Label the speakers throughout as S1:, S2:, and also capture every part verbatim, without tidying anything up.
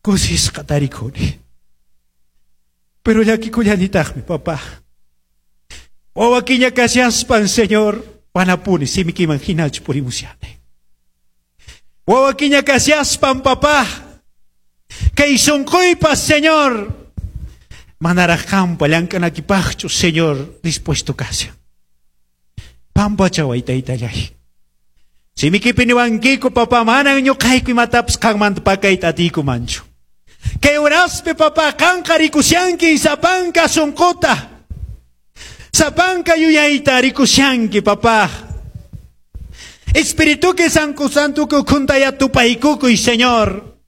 S1: Kusisqa tarikuni. Pero llakikullanitaqmi, papá. Wawakiña kashaspan, Señor, manapuni simikiman hinachu purimushani. Wawakiña kashaspan, papá. Kay sunquypas, Señor, manaraq qampa llank'anakipaqchu, Señor, dispuesto kashan. Pampachaway, taytallay. Simikipi niwankiku, papá, manan ñuqayku imatapas qanmanta pakayta atiykumanchu. Kay horaspi, papá, qanqa rikushanki sapanka sunquta. Sapanka yuyayta rikushanki, papá. Espirituki sanku santuki ukhuntaya tupaykukuy, Señor.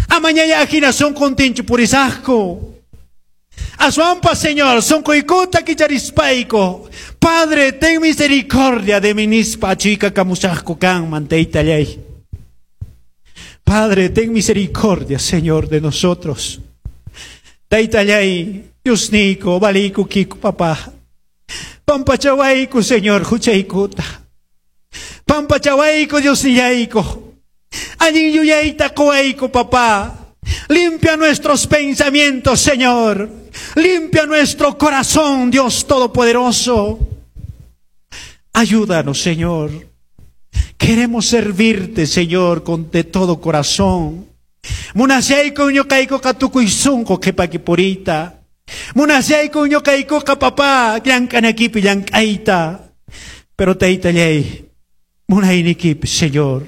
S1: Amañaya hina sunquntinchu purisaqku. Aswanpas, Señor, sunquykuta kicharispayku. Padre, ten misericordia de mí nispa achikakamusaqku kanman taytallay. Padre, ten misericordia, Señor, de nosotros. Taytallay, Diosniyku, valiykukiku, papá. Pampachawayku, Señor, huchaykuta. Pampachawayku, Diosnillayku. Allin yuyayta quwayku, papá. Limpia nuestros pensamientos, Señor. Limpia nuestro corazón, Dios Todopoderoso. Ayúdanos, Señor. Queremos servirte, Señor, con de todo corazón. Munashayku ñuqaykuqa tukuy sunqu qhipaki puriyta. Munashayku ñuqaykuqa, papá, llank'anakipi llank'ayta. Pero taytallay, munaynikipi, Señor.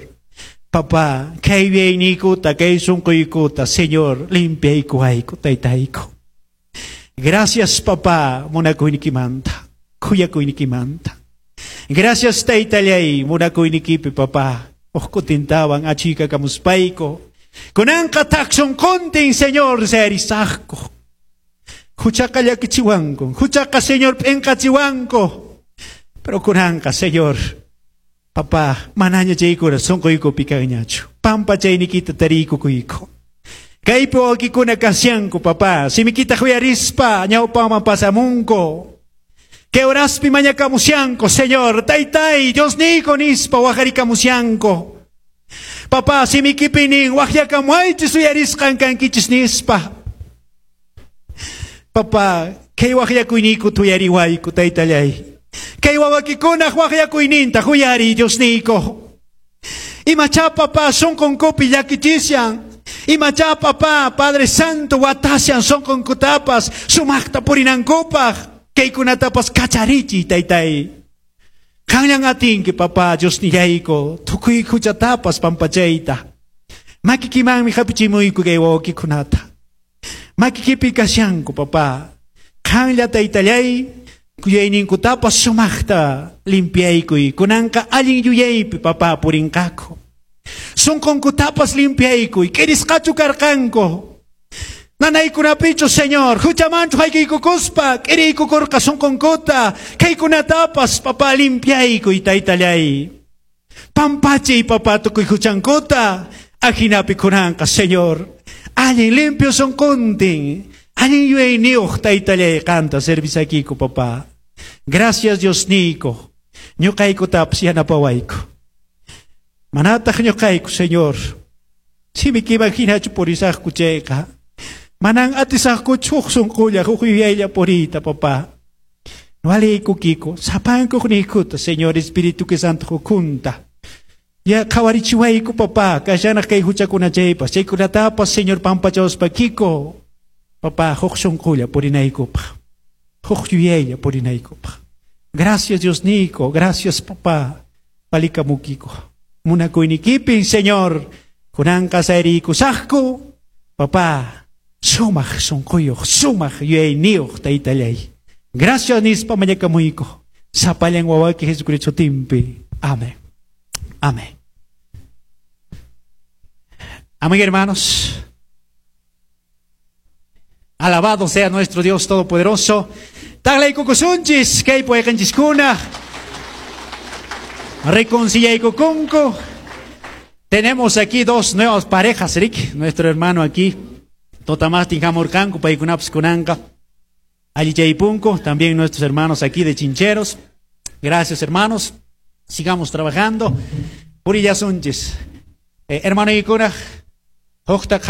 S1: Papá, kay yuyayniykuta, kay sunquykuta, Señor, limpiaykuwayku, taytayku. Gracias, papá, munakuynikimanta, khuyakuynikimanta. Gracias, taytallay, munakuynikipi, papá. Huk kutintawan achikakamuspayku. Kunanqa thak sunquntin, Señor, sayarisaqku. Huchaqa llakichiwanku, huchaqa, Señor, p'inqachiwanku. Pero kunanqa, Señor, papá, manaña chaykuna sunquykupi kanñachu. Pampachaynikita tariykukuyku. Kaypi wawqikuna kashanku, papá. Simikita uyarispa, ñawpaman pasamunku. Kay horaspi mañakamushanku, Señor. Taytay, Diosniyku nispa waqarikamushanku. Papá, simikipi nin, waqyakamuaychis uyarisqan kankichis nispa. Papá, kay waqyakuyniyku uyariwayku, taytallay. Kay wawakikunaq waqyakuyninta uyariy, Diosniyku. Imachá, papá, sunqunkupi llakichishan. Imachá, papá, Padre Santo, watashan sunqunkutapas, sumaqta purinankupaq. Kaykunatapas kacharichiy, taytay. Qanllan atinki, papá, Diosnillayku, tukuy huchatapas pampachayta. Makikimanmi hapichimuyku kay wawakikunata. Makikipi kashanku, papá. Qanlla, taytallay, yuyayninkutapas sumaqta limpiaykuy. Kunanqa allin yuyaypi, papá, purinqaku. Sunqunkutapas limpiaykuy. K'irisqachu karqanku. Nanaykunapichu, Señor, huchamanchu haykiykukuspa, k'iriykukurqa sunqunkuta, kaykunatapas, papá, limpiaykuy, taytallay. Pampachiy, papá, tukuy huchankuta, ahinapi kunanqa, Señor. Allin limpio sunquntin, allin yuyayniyuq, taytallay, qanta servisakiku, papá. Gracias, Diosniyku, ñuqaykutapas yanapawayku. Manataq ñuqayku, Señor, simikiman hinachu purisaqku chayqa. Manan atisaqkuchu huk sunqulla, huk yuyaylla puriyta, papá. Walaykukiku, sapankuq niykuta, Señor, Espíritu que Santo ukhunta. Ya qhawarichiwayku, papá, kashanaq kay huchakuna chaypas, chaykunatapas, Señor, pampachawaspakiko. Papá, huk sunqulla purinaykupaq. Huk yuyaylla purinaykupaq. Gracias, Diosniyku, gracias, papá. Palikamukiko. Munakuynikipin, Señor, kunanqa sayriykusaqku, papá, sumaq sunquyuq, sumaq yuyayniyuq, taytallay. Gracias nispa mañakamuyku. Sapallan wawayki Jesucristo sutinpi. Amén. Amén. Amén, hermanos. Alabado sea nuestro Dios Todopoderoso. Taqlaykukusunchis, kay wayqenchiskuna. Reconciliaykukunku. Tenemos aquí dos nuevas parejas, Rick, nuestro hermano aquí. Totamastin hamurqanku, paykunapas kunanqa. Allichaypunku, también nuestros hermanos aquí de Chincheros. Gracias, hermanos. Sigamos trabajando. Purillasunchis. Eh, hermano ikuna, hukta.